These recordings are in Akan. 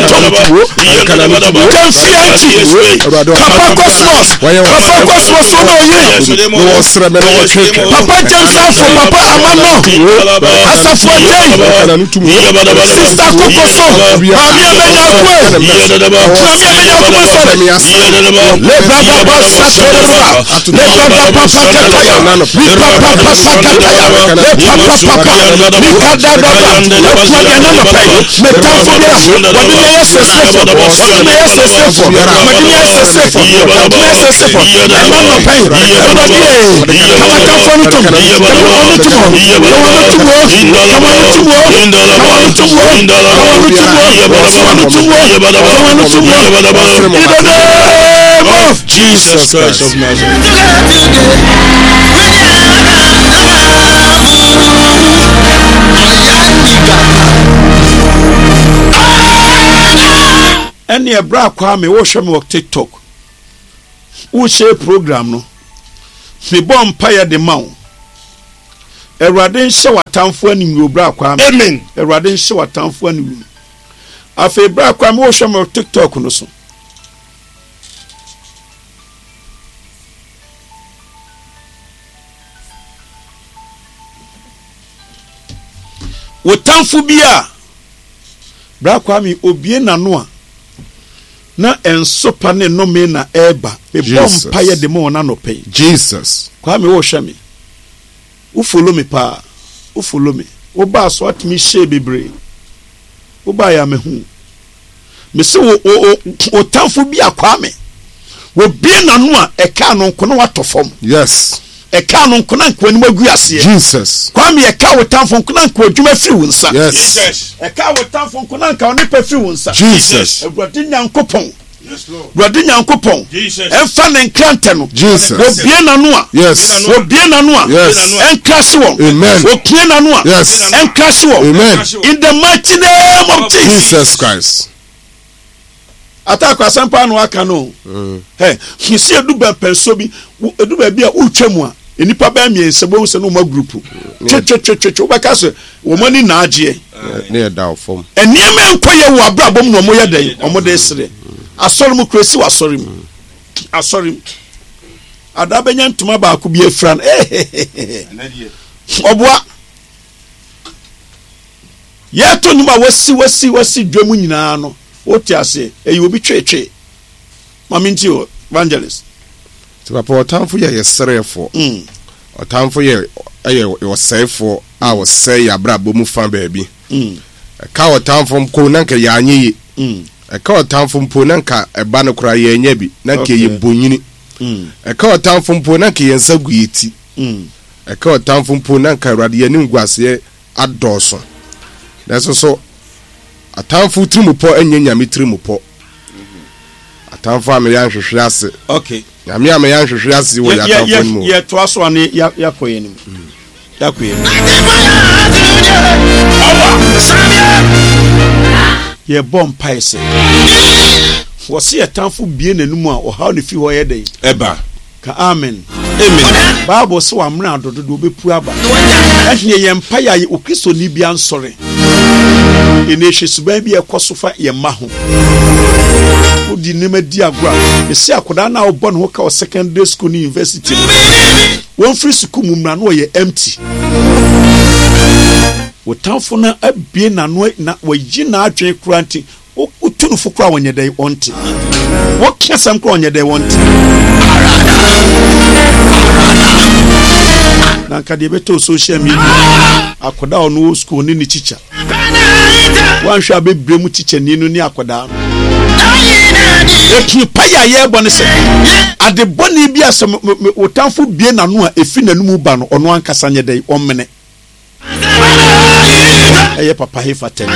no tom. Gyamfi Anti, Papa Cosmos, Papa Cosmos wo na oye. Papa James Afo, Papa Amano, Asafo Agyei, Sister Kokoso, Maame Amenya Akue, Maame Amenya Akue Sɔre, Lebrada Basa Toreba, Lebrada Papa Kataya, Lipa Papa Sakataya, Lepa Papa, Likada Dada, Akuade Nanɔpɛ, Metamfo biara, wɔde me ayɛ sɛsɛfo, wɔde me ayɛ sɛsɛfo, wɔde me ayɛ sɛsɛfo, wɔde me ayɛ sɛsɛfo, ɛna nɔpɛ yi, Awurade ee, ka w'atamfo no tom, ka wɔn no tom o, ka wɔn no tom o, ka wɔn no tom o, ka wɔn no tom o, ka wɔn no tom o, ka wɔn no tom o, ka wɔn no tom o, in the name of Jesus Christ of Nazareth. Ɛneɛ bra Kwame wohwɛ me wɔ TikTok wo share program no mebɔ mpaeɛ de ma wo Awurade nhyɛ w'atamfo aniwuo bra Kwame. Amen. Awurade nhyɛ w'atamfo aniwuo. Afei bra Kwame wohwɛ me wɔ TikTok no so. Wo tamfo bi a Bra Kwame obue n'ano a na nsopa ne nnome na ɛreba. Mebɔ mpaeɛ de ma wɔn anɔpa yi. Jesus. Kwame wohwɛ me. Wo follow me paa. Wo follow me. Wo baa so atumi hyɛɛ bebree. Wo baa yɛ amehu. Mese wo wo wo tamfo bi a Kwame. Wobue n'ano a ɛkaa no nko na watɔ fam. Yes. Ɛkaa no nko na nka w'anim agu aseɛ. Jesus. Kwame ɛkaa wo tamfo nko na nka w'adwuma firi wo nsa. Yes. Jesus. Ɛkaa wo tamfo nko na nka wo nepa firi wo nsa. Jesus. Awurade Nyankopɔn. Awurade Nyankopɔn. Jesus. Ɛmfa ne nkrantɛ no. Jesus. Wɔbue n'ano a. Yes. Wɔbue n'ano a. Yes. Ɛnkrahye wɔn. Amen. Wɔpue n'ano a. Yes. Ɛnkrahye wɔn. Amen. In the mighty name of Jesus. Jesus Christ. Ataako asɛm paa na waka no. Ɛ mesi edu bɛmpɛnsoɔ bi edu baabi a wotwa mu a nnipa bɛyɛ mmiɛnsa bohu sɛ na wɔn agurupu twetwetwetwe wobɛka sɛ wɔn ani na agyeɛ. Ne yɛ da fam. Nneɛma nkɔ yɛ wɔ abrabɔ mu na wɔn yɛ dɛn wɔn de sere. Asɔre mu kura esi wɔ asɔre mu asɔre mu ada bɛnya ntoma baako bi afira no ehehehe ɔboa. Yɛto nnwom a wasi wasi wasi dwam nyinaa no, wote aseɛ, ɛyɛ obi tweetwee. Ma mentie o, Evangelist. Nti papa ɔtamfo yɛ yɛ sereɛfoɔ. Ɔtamfo yɛ yɛ ɔsɛefoɔ a ɔsɛe yɛ abrabɔ mu fa baabi. Ɛka ɔtamfo mpo na nka yɛanyɛ ye. Ɛka ɔtamfo mpo na nka ɛba no koraa yɛanya bi, na nka yɛyɛ bonyini. Ɛka ɔtamfo mpo na nka yɛn nsa gu yɛ ti. Ɛka ɔtamfo mpo na nka Awurade yɛn animguaseɛ adɔɔso. Nanso so atamfo tirimupɔ nyɛ Nyame tirimupɔ? Atamfo a meyɛ anhwehwe ase. Okay. Nyame a meyɛ anhwehwe ase wɔ yɛ atamfo no mu. Yɛ toa so ane yɛakɔ yɛn anim. Yɛakɔ yɛn anim. Yɛbɔ mpae sɛ wɔsi yɛ tamfo bie n'anum a ɔhaw ne fi hɔ yɛ dɛn? Ɛba. Ka amen. Amen. Bible se wamena adɔ dodo obepu aba. Ɛheɛ yɛn mpaeɛ a Okristoni bia nsɔre. Ɛnɛ hwɛ suban bi a ɛkɔ so fa yɛn mma ho. Wodi nneɛma di agorɔ a, mese akwadaa no a wobɔ ne ho ka wɔ secondary school ne university no, wɔmfiri sukuu mu mmra na ɔyɛ empty. Wo tamfo no abue n'ano na wayi n'adwene koraa nti Wotu no fo koraa wɔnyɛ dɛn wɔnte. Woka asɛm koraa wɔnyɛ dɛn wɔnte. Na nka deɛ ɛbɛtɔ social media akwadaa a ɔno wɔ school ne ne tikya. Woanhwɛ a bɛbrɛ mu tikyani no ne akwadaa no. Ɛtumi pa yɛ a yɛrebɔ ne sɛ ade bɔne bi a sɛ wo tamfo bie n'ano a ɛfi n'anomu ba no ɔno ankasa nyɛ dɛn ɔmmene. Ɛyɛ papa hefa tɛn.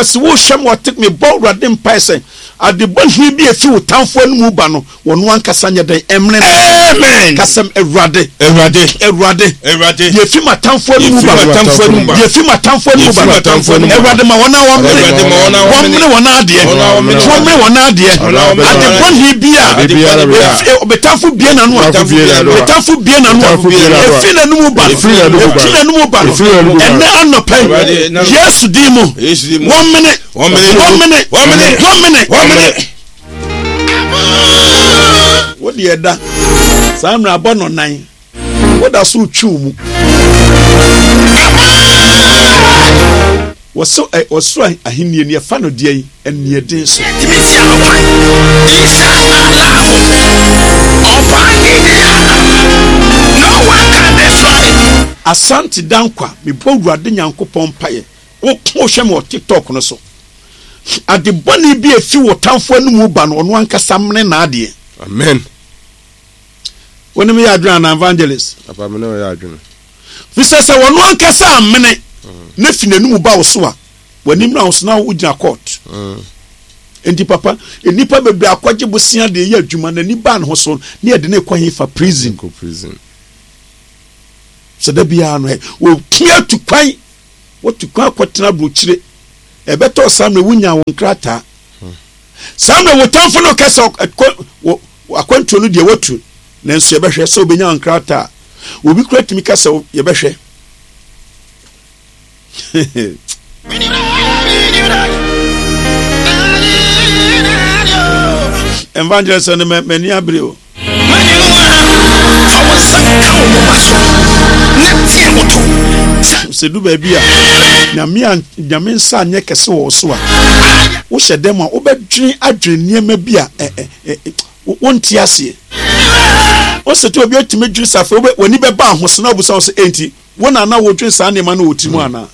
Papa se wohwɛ me ɔte mebɔ Awurade mpae sɛ ade bɔne bi a efi wo tamfo anom ba no, wɔno ankasa nyɛ dɛn ɛmene no. Amen. Ka sɛ, Awurade. Awurade. Awurade. Awurade. Deɛ efi m'atamfo anom Deɛ ba efi no. m'atamfo anom ba. Deɛ efi m'atamfo anom Deɛ ba efi no. m'atamfo anom ba. Awurade ma wɔn a wɔmene. Awurade ma wɔn a wɔmene. Wɔmene wɔn adeɛ. Wɔn a wɔmene. Wɔmene wɔn adeɛ. Wɔn a wɔmene Ade wɔn adeɛ. bɔne bi a. Ade biara bi a. Efi- Ɔbɛtamfo bie n'ano a. Ɔtamfo bie n'ano a. Ɔtamfo bie n'ano a. Ɔtamfo bie n'ano a. Efi n'anom ba no. Efi n'anom ba no. Efi n'anom ba no. Efi n'anom ba no. Ɛnɛ anɔpa yi. Awurade, na- Yesu din mu. Yesu din mu. Wɔmene. Wɔmene. Wɔmene. Wɔmene. Wɔmene. Wɔmene. Wo deɛ da saa mmerɛ abɔ no nan woda so retwe wo mu. Wɔso ɛ ɔsoro ahennie no yɛfa no deɛ yi aniɛden so. Asante Dankwa mebɔ Awurade Nyankopɔn mpaeɛ wo wohwɛ me wɔ TikTok no so. Ade bɔne bi a efi wo tamfo anom ba no, ɔno ankasa mene n'adeɛ. Amen. Wo ne me yɛ adwene anaa evangelist? Papa me ne wo yɛ adwene. Fisɛ sɛ ɔno ankasa amene na fi n'anom ba wo so a, w'anim na wo so na wogyina court. Enti papa, nnipa bebree akɔgye bosea de yɛ adwuma, n'ani baa ne ho so ne yɛde ne kɔ hefa prison. Kɔ prison. Sɛ da biara no ɛ, wɔtumi atu kwan Wotu kwan kɔtena aburokyire. Ɛbɛtɔ saa mmerɛ wonyaa wo nkrataa. Saa mmerɛ wo tamfo no kɛ sɛ akwantuo no deɛ watu nanso yɛbɛhwɛ sɛ wobɛnya wo nkrataa. Obi kura tumi ka sɛ yɛbɛhwɛ. Evangelist no m'ani abere o. Fa wo nsa ka wo moma so na teɛ ho to. Sɛ du baabi a Nyame a Nyame nsa anyɛ kɛse wɔ wo so a, wohyɛ dɛm a wobɛdwene adwene nneɛma bi a ɛ ɛ ɛ wonte aseɛ. Wosɛ te obi atumi dwene sɛ afei w'ani bɛba ahoso na wobusa wo sɛ enti Wo na na wodwen saa nneɛma no wɔ wo tirim anaa?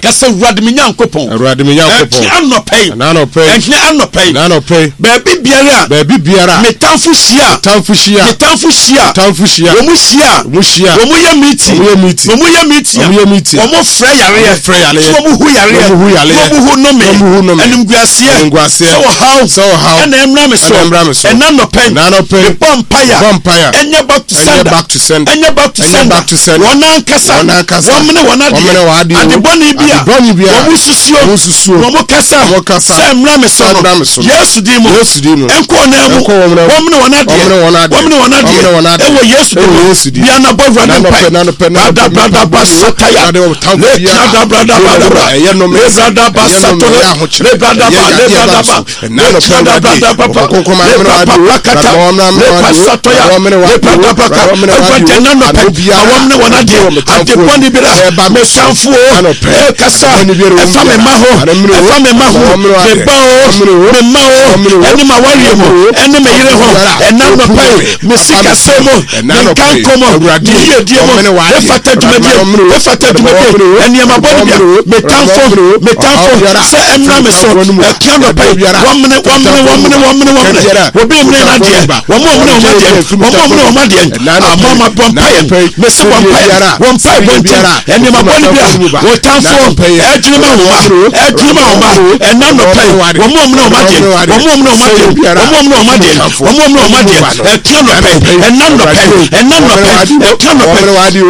Ka sɛ, Awurade me Nyankopɔn. Awurade me Nyankopɔn. Ɛhe anɔpa yi. Ɛna anɔpa yi. Ɛhe anɔpa yi. Ɛna anɔpa yi. Baabi biara a. Baabi biara a. Me tamfo hyia. Me tamfo hyia. Me tamfo hyia. Me tamfo hyia. Wɔn hyia. Wɔn hyia. Wɔn yɛ meeting. Wɔn yɛ meeting. Wɔn yɛ meeting. Wɔn yɛ meeting. Wɔn frɛ yareɛ. Wɔn frɛ yareɛ. Sɛ wɔn hu yareɛ. Wɔn hu yareɛ. Wɔn hu nnome. Wɔn hu nnome. Animguaseɛ. Animguaseɛ. Sɛ ɔhaw. Sɛ ɔhaw. Ɛna ɛmra me so. Ɛna ɛmra me so. Ɛna anɔpa yi. Ɛna anɔpa yi. Mebɔ mpaeɛ. Mebɔ mpaeɛ. Ɛnyɛ back to Ɛnyɛ sender. back to sender. Ɛnyɛ back to Ɛnyɛ sender. back to sender. Wɔn ankasa. Wɔn ankasa. Wɔn mene wɔn adeɛ. Wɔn mene wɔn adeɛ o. Ade bɔne bi a. Ade bɔne bi a. Wɔn susuo. Wɔn susuo. Wɔn kasa. Wɔn kasa. Sɛ mmra me so Sɛ no. mmra me so no. Yesu din mu. Yesu din mu. Ɛnkɔ wɔn nan mu. Ɛnkɔ wɔn nan mu. Wɔn mene wɔn adeɛ. Wɔn mene wɔn adeɛ. Wɔn mene wɔn adeɛ. Wɔn mene wɔn adeɛ. Ɛwɔ Yesu din mu. Ɛwɔ Yesu din mu. Bia na bɔ Awurade N'anɔpɛ, mpae. n'anɔpɛ, n'anɔpɛ, Brada brada ba sataya. Awurade wɔn tamfo Le biara. brada brada brada bra. Ɛyɛ nnome. Le brada ba Ɛyɛ nnome, satore. ɛyɛ ahokyerɛ. Le brada Ɛyɛ ba le yadeɛ brada ba ba. so. Le brada brada ba ba. Le brada ba kata. Le pa sataya. Le brada ba ka. Awurade ɛna nɔpɛ. Ma wɔn mene wɔn adeɛ. Ade bɔne bi ra. Me tamfo o. Ɛkasa. Ɛfa me mma ho. Ɛfa me mma ho. Me ba o. Me mma o. Ɛne m'awareɛ mu. Ɛne me yere ho. Ɛna nɔpɛ yi. Me sikasɛm mu. Me nkankɔ mu. Me yiedie mu. Efata dwumadie. Efata dwumadie. Nneɛma bɔne bia. Me tamfo. Me tamfo. Sɛ ɛmmra me so. Ɛka nɔpɛ yi. Wɔmene wɔmene wɔmene wɔmene wɔmene. Obi mmene n'adeɛ. Wɔn a wɔmene wɔn adeɛ. Wɔn a wɔmene wɔn adeɛ. Ama ma bɔ mpaeɛ. Mesi bɔ mpaeɛ. Wɔ mpaeɛ bɔ nti. Nneɛma bɔne bi a wɔtamfo ɛdwene ma wɔn ma. Ɛdwene ma wɔn ma. Ɛna nɔpɛ yi. Wɔn a wɔmene wɔn adeɛ. Wɔn a wɔmene wɔn adeɛ. Wɔn a wɔmene wɔn adeɛ. Wɔn a wɔmene wɔn adeɛ. Ɛka nɔpɛ yi. Ɛna nɔpɛ yi. Ɛna nɔpɛ yi. Ɛka nɔpɛ yi.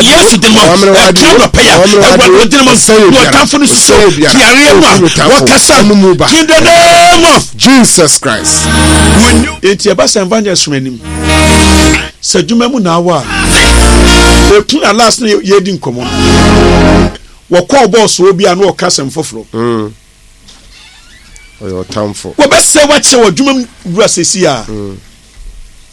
Yesu de ma ɛka nɔpɛ yi a Awurade ɔgyina ma na ɔtamfo no susu yareɛ mu a wɔkasa in the name of Jesus Christ. Enti ɛba sɛ evangelist som anim sɛ adwuma mu na awɔ a ɛku na last no yɛdi nkɔmmɔ no wɔkɔɔ bɔɔsoɔ bi a na ɔka asɛm foforɔ mm. Ɔyɛ ɔtamfo. Wɔbɛsɛ wakyɛ wɔ adwuma mu wura sɛsi a mm.